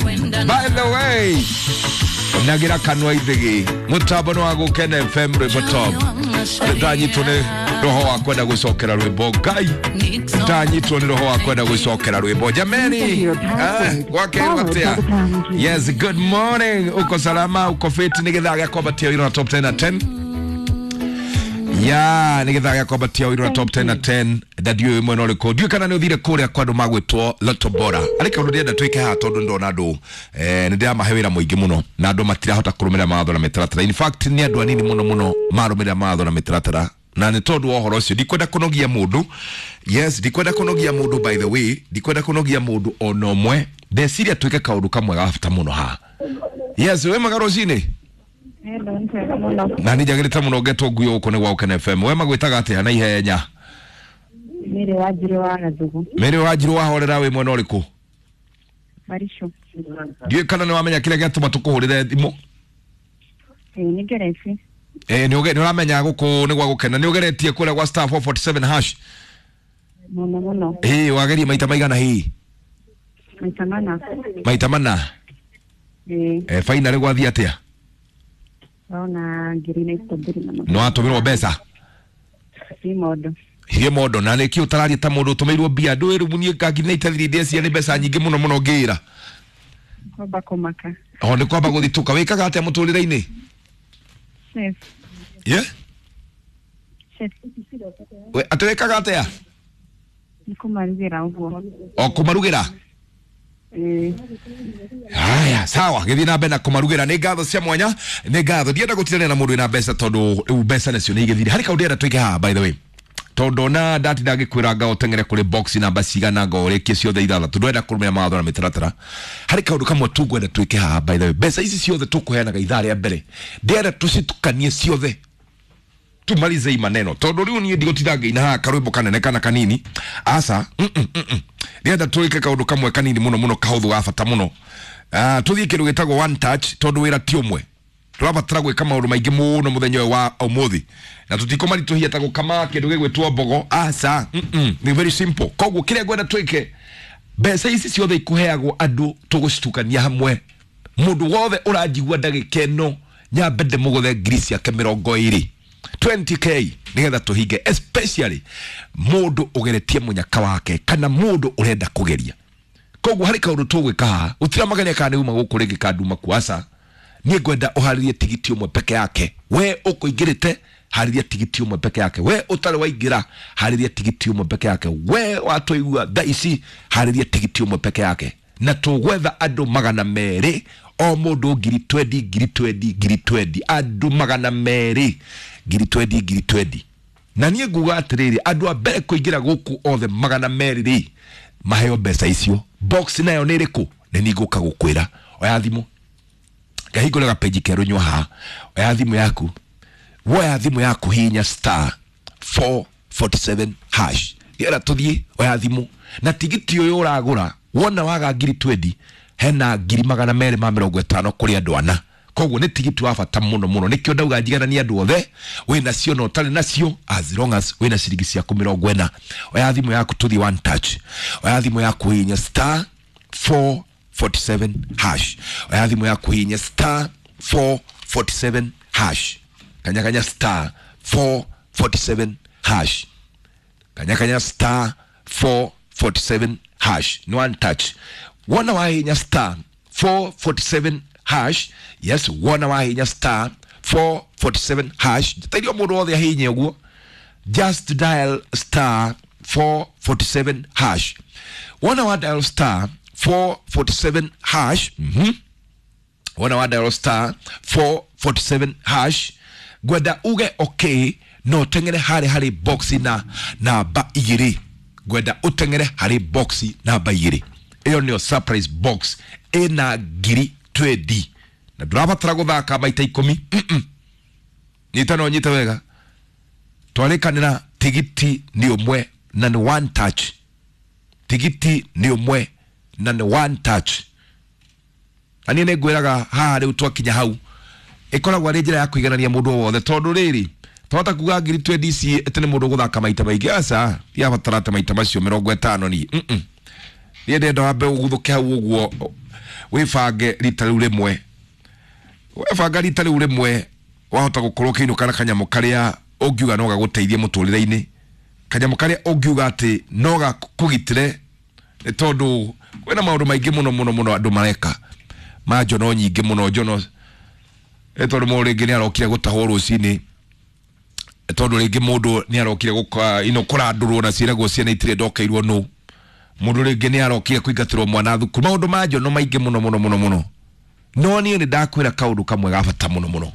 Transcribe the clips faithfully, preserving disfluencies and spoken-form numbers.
one. By the way, nagira kanwa ithigi mutambo ni wa Gukena F M rwimbo top. Ndanyitwo ni roho wa kwenda gucokera rwimbo Ngai, ndanyitwo ni roho wa kwenda gucokera rwimbo jameni. Eh, gwake atia. Yes, good morning. Uko salama, uko fit? Ni githaa gĩa kwambatia wĩra na top ten na ten. Ya, nĩ githaa gĩa kwambatia wĩra na top ten na ten. Ndadio ĩmwe no rĩkũ ndiũĩ kana nĩ ũthire kũrĩa kwa andũ magwĩtwo Lotto Bora. Arĩ kaũndũ ndĩrenda twĩke haha tondũ ndona andũ eh, nĩ ndĩramahe wĩra mũingĩ mũno na andũ matirahota kũrũmĩrĩra mawatho na mĩtaratara. In fact nĩ andũ anini mũno mũno marũmĩrĩra mawatho na mĩtaratara, na nĩ tondũ wa ũhoro ũcio ndikwenda kũnogia mũndũ. Yes, ndikwenda kũnogia mũndũ, by the way ndikwenda kũnogia mũndũ ona ũmwe. Ndeciria twĩke kaũndũ kamwe ga bata mũno haha. Yes, wĩ mwega rũcinĩ? Na nĩ njagĩrĩte mũno ngetwo ngui gũkũ nĩ gwa Gukena F M. We magwĩtaga atĩa na ihenya? Mary Wanjiru wa Gathugu. Mary Wanjiru wahorera wĩ mwena ũrĩkũ? Maricho. Ndiũĩ kana nĩ wamenya kĩrĩa gĩatũma tũkũhũrĩre thimũ? Ĩĩ nĩ ngeretie. Eh, nĩ ũramenya gũkũ nĩ gwa Gukena. Nĩ ũgeretie kũrĩa gwa star four forty-seven hash? Mũno mũno. Ĩĩ wageria maita maigana hihi? Maita mana. Maita mana? Ĩĩ. Eh, finally gwathiĩ atĩa? Ona ngiri na itũmbiri na nĩ watũmĩrwo mbeca? Si mondo. Hiĩ mondo. Na nĩkĩ ũtararia ta mũndũ ũtũmĩirwo mbia? Ndũĩ rĩu niĩ nga ngiri na itathiri ndĩciria nĩ mbeca nyingĩ mũno mũno ngĩra. Kwamba kũmaka. O nĩ kwamba gũthitũka. Wĩkaga atĩa mũtũrĩre-inĩ? Chef. Ye? Chef. We atĩ wĩkaga atĩa? Nĩ kũmarugĩra ũguo. O kũmarugĩra? Ĩĩ. Haya, sawa, gĩthiĩ na mbere na kũmarugĩra. Nĩ ngatho cia mwanya, nĩ ngatho. Ndienda gũtindanĩra na mũndũ wĩna mbeca tondũ rĩu mbeca nacio nĩ igĩthire. Harĩ kaũndũ ndĩrenda twĩke haha by the way. Tondũ ona ndatinda ngĩkwĩra nga ũteng'ere kũrĩ box namba cigana nga ũrĩkie ciothe ithathatũ, ndwenda kũrũmĩrĩra mawatho na mĩtaratara. Harĩ kaũndũ kamwe tu ngwenda twĩke haha by the way. Mbeca ici ciothe tũkũheanaga ithaa rĩa mbere, ndĩrenda tũcitukanie ciothe, tumalize hii maneno tondũ rĩu niĩ ndigũtinda ngĩina haha karwĩmbo kanene kana kanini. Aca, mm -mm, mm -mm. Ndĩrenda twĩke kaũndũ kamwe kanini mũno mũno kahũthũ ga bata mũno. Ah, tũthiĩ kĩndũ gĩtagwo one touch tondũ wĩra ti ũmwe. Tũrabatara gwĩka maũndũ maingĩ mũno mũthenya ũyũ wa ũmũthĩ na tũtikũmaritũhia ta gũkama kĩndũ gĩgwĩtwo mbogo. Aca, mm -mm. Nĩ very simple. Koguo kĩrĩa ngwenda twĩke, mbeca ici ciothe ikũheagwo andũ tũgũcitukania hamwe. Mũndũ wothe ũranjigua ndagĩka ĩno nyambe ndĩmũgũthe ngiri ciake mĩrongo ĩrĩ, twenty k, nĩgetha tũhinge, especially mũndũ ũgeretie mũnyaka wake kana mũndũ ũrenda kũgeria. Koguo harĩ kaũndũ tũgwĩka haha, gũtiramagania kana nĩ uma gũkũ rĩngĩ kana nduma kuo. Aca, niĩ ngwenda ũharĩrie tigiti ũmwe peke yake. We ũkũingĩrĩte, harĩria tigiti ũmwe peke yake. We ũtarĩ waingĩra, harĩria tigiti ũmwe peke yake. We watũigua thaa ici, harĩria tigiti ũmwe peke yake. Na tũgwetha andũ magana merĩ, o mũndũ ngiri twendi, ngiri twendi, ngiri twendi, andũ magana merĩ, ngiri twendi, ngiri twendi. Na niĩ nguga atĩrĩrĩ, andũ a mbere kũingĩra gũkũ othe magana merĩ rĩ, maheo mbeca icio. Box nayo nĩ ĩrĩkũ? Nĩ niĩ ngũka gũkwĩra. Oya thimũ, ngahingũra gapeji kerũ nyua haha. Oya thimũ yaku, woya thimũ yaku, hihinya star four forty-seven hash. Gera tũthiĩ, oya thimũ. Na tigiti ũyũ ũragũra, wona waga ngiri twendi, hena ngiri magana merĩ ma mĩrongo ĩtano kũrĩ andũ ana. Koguo nĩ tigiti wa bata mũno mũno. Nĩkĩo ndauga njigananie andũ othe, wĩna cio na ũtarĩ nacio, as long as wĩna ciringi ciaku mĩrongo ĩna. Oya thimũ yaku tũthiĩ one touch. Oya thimũ yaku hihinya star four forty-seven hash. Oya thimũ yaku hihinya star four forty-seven hash. Kanya kanya star four forty-seven hash. Kanya kanya star four forty-seven hash. Ni one touch. Wona wahinya star four forty-seven hash. Yes, wona wahinya star four forty-seven hash. Tairio mũndũ wothe ahinye ũguo. Just dial star four forty-seven hash. Wona wa dial star four forty-seven hash. Mhm. Wona wa dial star four forty-seven hash. Ngwenda uge okay, no tengere harĩ harĩ box na namba igĩrĩ. Ngwenda ũtengere harĩ box namba igĩrĩ. Ĩyo nĩyo surprise box ĩna ngiri twendi. Na ndũrabatara gũthaka maita ikũmi. Mm-mm. Nyita no nyite wega. Twarĩkanĩra tigiti nĩ ũmwe na nĩ one touch. Tigiti nĩ ũmwe na nĩ one touch. Na niĩ nĩngwĩraga haha rĩu twakinya hau, ĩkoragwo arĩ njĩra ya kũiganania mũndũ o wothe tondũ rĩrĩ twahota kuga ngiri twendi ici atĩ nĩ mũndũ ũgũthaka maita maingĩ. Aca, ndiabatara ta maita macio mĩrongo ĩtano niĩ. Mm-mm. Niĩ ndĩrenda wambe ũguthũke hau ũguo Wĩbange rita rĩu rĩmwe. Webanga rita rĩu rĩmwe wahota gũkorwo ũkĩinũka na kanyamũ karĩa ũngiuga no gagũteithie mũtũrĩre-inĩ, kanyamũ karĩa ũngiuga atĩ no gakũgitĩre, nĩ tondũ kwĩna maũndũ maingĩ mũno mũno mũno andũ mareka ma njono nyingĩ mũno njono, nĩ tondũ mũndũ rĩngĩ nĩ arokire gũtahwo rũcinĩ, nĩ tondũ rĩngĩ mũndũ nĩ arokire gũka ino kũrandũrwo na ciĩragwo ciana itirĩ ndokeirwo nũ, mũndũ rĩngĩ nĩ arokire kũingatĩrwo mwana thukuru, maũndũ ma njono maingĩ mũno mũno mũno mũno. No niĩ nĩ ndakwĩra kaũndũ kamwe ga bata mũno mũno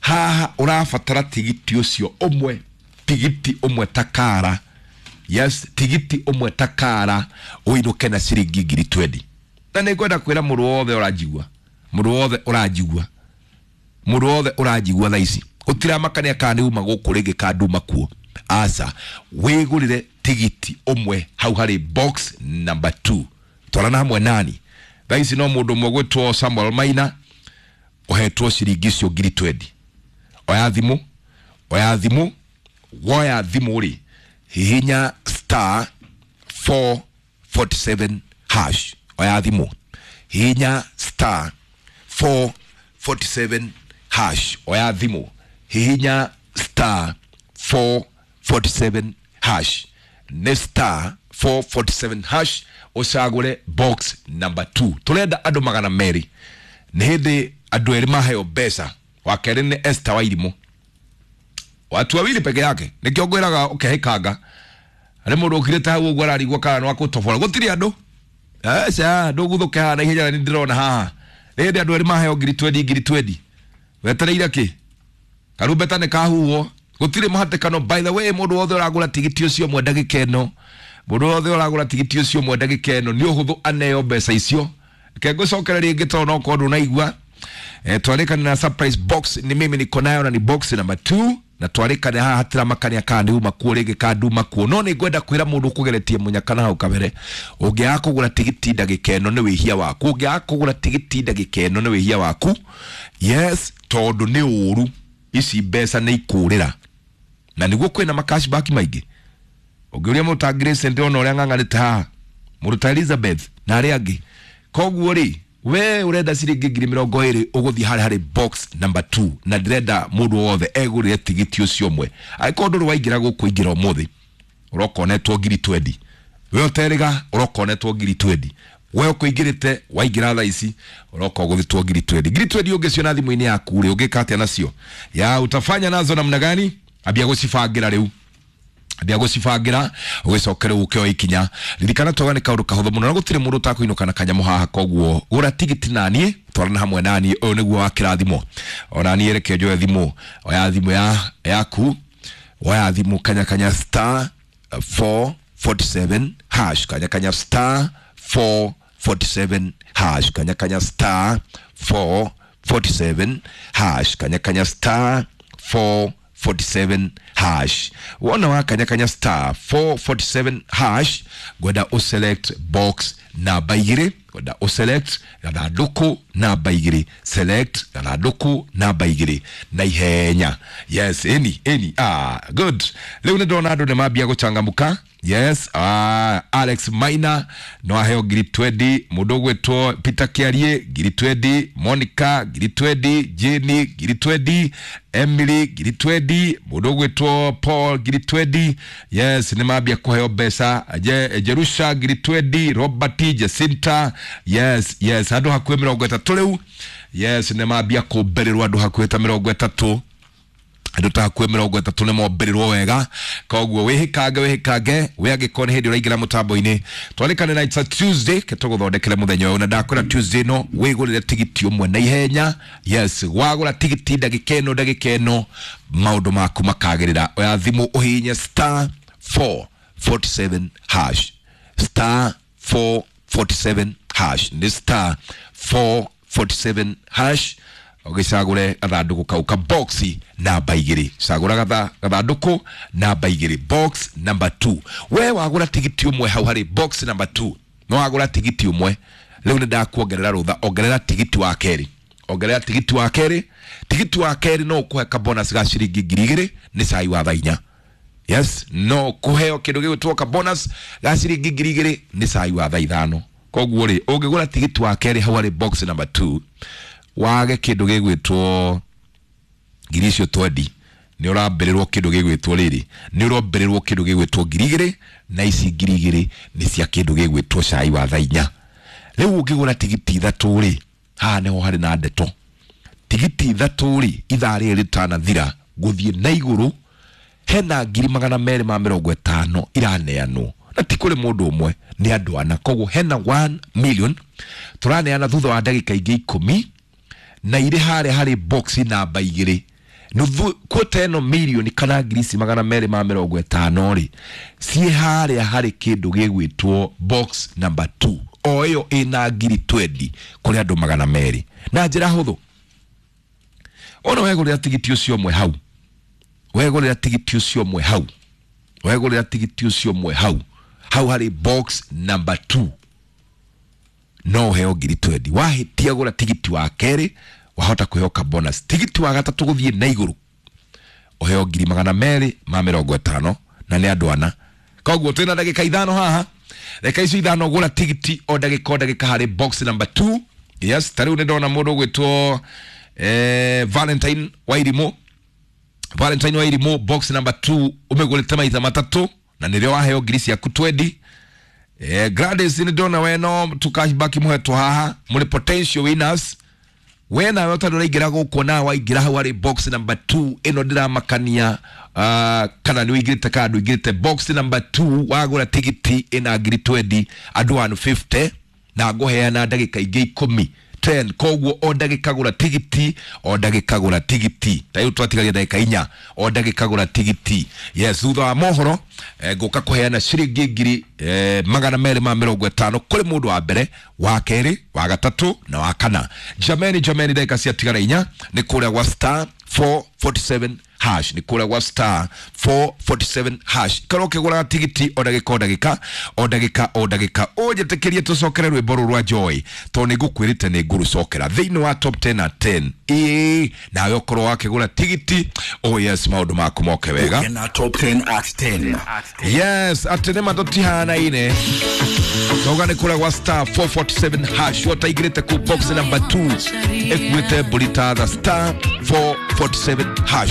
haha, ũrabatara tigiti ũcio ũmwe, tigiti ũmwe takara, yes, tigiti ũmwe takara ũinũke na ciringi ngiri twendi. Na nĩ ngwenda kwĩra mũndũ wothe ũranjigua, mũndũ wothe ũranjigua, mũndũ wothe ũranjigua thaa ici, gũtiramakania kana nĩ uma gũkũ rĩngĩ kana nduma kuo, aca, wĩgũrĩre tigiti ũmwe hau harĩ box number two, twarana hamwe nani thaa ici. No mũndũ ũmwe gwĩtwo Samuel Maina ũhetwo ciringi icio ngiri twendi. Oya thimũ, oya thimũ, woya thimũ rĩ, hihinya star four forty seven hash. Oya thimũ, hihinya star four forty seven hash. Oya thimũ, hihinya star four forty seven hash, nĩ star four forty seven hash, ũcagũre box number two. Tũrenda andũ magana merĩ, nĩ hĩndĩ andũ erĩ maheo mbeca. Wa kerĩ nĩ Esther Wairimũ, watu wawili peke yake. Nĩkĩo ngwĩraga ũkehĩkanga harĩ mũndũ ũkirĩte hau ũguo ararigwo kana nĩ wa kũtobora, gũtirĩ andũ aca ndũguthũke haha na ihenya, na nĩ ndĩrona haha nĩ hĩndĩ andũ erĩ maheo ngiri twendi ngiri twendi. Wetereire kĩ? Karumbeta nĩ kahuhwo, gũtirĩ mũhatĩkano. By the way, mũndũ wothe ũragũra tigiti ũcio ũmwe ndagĩka ĩno, mũndũ wothe ũragũra tigiti ũcio ũmwe ndagĩka ĩno nĩ ũhũthũ aneo mbeca icio. Reke ngũcokere rĩngĩ tondũ no korwo ndũnaigua. Eh, twarĩkane na surprise box ni mimi niko nayo na ni box number two, na twarĩkane haha hatiramakania kana nĩ uma kuo rĩngĩ kana nduma kuo. No nĩ ngwenda kwĩra mũndũ ũkũgeretie mũnyaka na hau kabere, ũngĩaga kũgũra tigiti ndagĩka ĩno nĩ wĩhia waku, ũngĩaga kũgũra tigiti ndagĩka ĩno nĩ wĩhia waku, yes, tondũ nĩ ũru, ici mbeca nĩ ikũrĩra, na nĩguo kwĩna macashback maingĩ. Ũngĩũria mũndũ ta Grace, ndĩrona ũrĩa ng'ang'anĩte haha, mũndũ ta Elizabeth na arĩa angĩ. Koguo rĩ, we ũrenda ciringi ngiri mĩrongo ĩrĩ, ũgũthiĩ harĩa harĩ box number two, na ndĩrenda mũndũ wothe egũrĩre tigiti ũcio ũmwe. Angĩkorwo ndũrĩ waingĩra gũkũ, ingĩra ũmũthĩ, ũroka ũnetwo ngiri twendi. We ũterĩga, ũroka ũnetwo ngiri twendi. We ũkũingĩrĩte waingĩra thaa ici, ũroka ũgũthĩtwo ngiri twendi. Ngiri twendi ũngĩciona thimũ-inĩ yaku rĩ, ũngĩka atĩa nacio? Ya utafanya nazo namna gani? Ambia gũcibangĩra rĩu, ambia gũcibangĩra, ũgĩcoke rĩu ũkĩoya ikinya. Ririkana twauga nĩ kaũndũ kahũthũ mũno na gũtirĩ mũndũ ũtakũinũka na kanyamũ haha. Koguo gũra tigiti naniĩ, twarana hamwe naniĩ, ũyũ nĩguo wa kĩrathimo. Ona niĩ reke njoe thimũ. Oya thimũ ya yaku, oya thimũ, kanya kanya star four forty seven hash, kanya kanya star four forty seven hash, kanya kanya star four forty seven hash, kanya kanya star four forty seven hash. Wona wa kanya kanya star four forty seven hash, ngwenda ũselect box namba igĩrĩ, ngwenda ũselect gathandũkũ namba igĩrĩ, select gathandũkũ namba igĩrĩ na ihenya. Yes, ĩni ĩni, ah, good. Rĩu nĩ ndĩrona andũ nĩ mambia gũchangamka. Yes, ah, Alex Maina no aheo ngiri twendi, mũndũ ũgwĩtwo Peter Kiarie ngiri twendi, Monica ngiri twendi, Jenny ngiri twendi, Emily ngiri twendi, mũndũ ũgwĩtwo Paul ngiri twendi. Yes, nĩ mambia kũheo mbeca. Je, Jerusha ngiri twendi, Robert, Jacinta, yes, yes, andũ hakuhĩ mĩrongo ĩtatũ rĩu. Yes, nĩ mambia kũmbĩrĩrwo andũ hakuhĩ ta mĩrongo ĩtatũ, andũ ta hakuhĩ mĩrongo ĩtatũ nĩ mombĩrĩrwo wega. Koguo wĩhĩkange, wĩhĩkange we angĩkorwo nĩ hĩndĩ ũraingĩra mũtambo-inĩ. Twarĩkane na it's a Tuesday, ke tũgũthondekere mũthenya ũyũ, na ndakwĩra Tuesday no wĩgũrĩre tigiti ũmwe na ihenya. Yes, wagũra tigiti ndagĩka ĩno, ndagĩka ĩno maũndũ maku makagĩrĩra. Oya thimũ ũhihinye star four forty seven hash, star four forty seven hash, nĩ star four forty seven hash, ũgĩcagũre gathandũkũ kau ka box namba igĩrĩ. Cagũra gatha gathandũkũ namba igĩrĩ, box number two. We wagũra tigiti ũmwe hau harĩ box number two, no wagũra tigiti ũmwe rĩu nĩ ndakuongerera rũtha, ongerera tigiti wa kerĩ, ongerera tigiti wa kerĩ. Tigiti wa kerĩ no ũkũhe ka bonus ga ciringi ngiri igĩrĩ nĩ cai wa thaa inya. Yes, no kũheo kĩndũ gĩgwĩtwo ka bonus ga ciringi ngiri igĩrĩ nĩ cai wa thaa ithano. Koguo rĩ, ũngĩgũra tigiti wa kerĩ hau harĩ box number two, wage kĩndũ gĩgwĩtwo ngiri icio twendi, nĩ ũrambĩrĩrwo kĩndũ gĩgwĩtwo rĩrĩ, nĩ ũrombĩrĩrwo kĩndũ gĩgwĩtwo ngiri igĩrĩ, na ici ngiri igĩrĩ nĩ cia kĩndũ gĩgwĩtwo cai wa thaa inya. Rĩu ũngĩgũra tigiti ithatũ rĩ, haha nĩho harĩ na ndeto. Tigiti ithatũ rĩ, ithaa rĩrĩ rĩtanathira gũthiĩ na igũrũ, hena ngiri magana merĩ ma mĩrongo ĩtano iraneanwo, na ti kũrĩ mũndũ ũmwe, nĩ andũ ana. Koguo hena one million tũraneana thutha wa ndagĩka ingĩ ikũmi, na irĩ harĩa harĩ box namba igĩrĩ. Nuthu kwota ĩno mirioni kana ngiri ici magana merĩ ma mĩrongo ĩtano rĩ, ciĩ harĩa harĩ kĩndũ gĩgwĩtwo box number two, o ĩyo ĩna ngiri twenty kũrĩ andũ magana merĩ. Na njĩra hũthũ, ona wegũrĩra tigiti ũcio ũmwe hau, wegũrĩra tigiti ũcio ũmwe hau, wegũrĩra tigiti ũcio ũmwe hau, hau harĩ box number two, no ũheo ngiri twenty. Wahĩtia gũra tigiti wa kerĩ, wahota kũheo ka bonus. Tigiti wa gatatũ gũthiĩ na igũrũ, ũheo ngiri magana merĩ ma mĩrongo ĩtano, na nĩ andũ ana. Koguo twĩna ndagĩka ithano haha, ndagĩka icio ithano gũra tigiti o ndagĩka o ndagĩka harĩ box number two. Yes, ta rĩu nĩ ndona mũndũ ũgwĩtwo eh, Valentine Wairimũ. Valentine Wairimũ, box number two, ũmĩgũrĩte maita matatũ, na nĩrĩo waheo ngiri ciaku twenty. Eh, Gladys, nĩ ndona we no tu cashback mũhetwo haha, mũrĩ potential winners. We nawe ũtarĩ ũraingĩra gũkũ, nawe waingĩra hau harĩ box number two, ĩno ndĩramakania, uh, kana nĩ ũingĩrĩte kana ndũingĩrĩte. Box number two, wagũra tigiti ĩna ngiri twenty, andũ one fifty, na ngũheana ndagĩka ingĩ ikũmi, ten. Koguo o ndagĩka gũra tigiti, o ndagĩka gũra tigiti. Ta rĩu twatigaria ndagĩka inya, o ndagĩka gũra tigiti. Yes, thutha wa mohoro, eh, ngũka kũheana ciringi ngiri, eh, magana merĩ ma mĩrongo ĩtano kũrĩ mũndũ wa mbere, wa kerĩ, wa gatatũ na wa kana. Jameni, jameni, ndagĩka ciatigara inya, nĩ kũrĩa gwa star four forty-seven hash, nĩ kũrĩa gwa star four forty-seven hash. Ikara ũkĩgũraga tigiti o ndagĩka o ndagĩka o ndagĩka o ndagĩka. Ũnjĩtĩkĩrie tũcokere rwĩmbo rũrũ rwa Joy, tondũ nĩ ngũkwĩrĩte nĩ ngũrũcokera thĩinĩ wa top ten at ten. Ĩĩ, nawe ũkorwo wakĩgũra tigiti, oh yes, maũndũ maku moke wega. Kena top ten at ten. Yes, atĩ nĩ matũtihanaine. Tauga nĩ kũrĩa gwa star four forty-seven hash, wotaingĩrĩte kũ box number two, ĩkuĩte mbũri ta tha, star four forty-seven hash.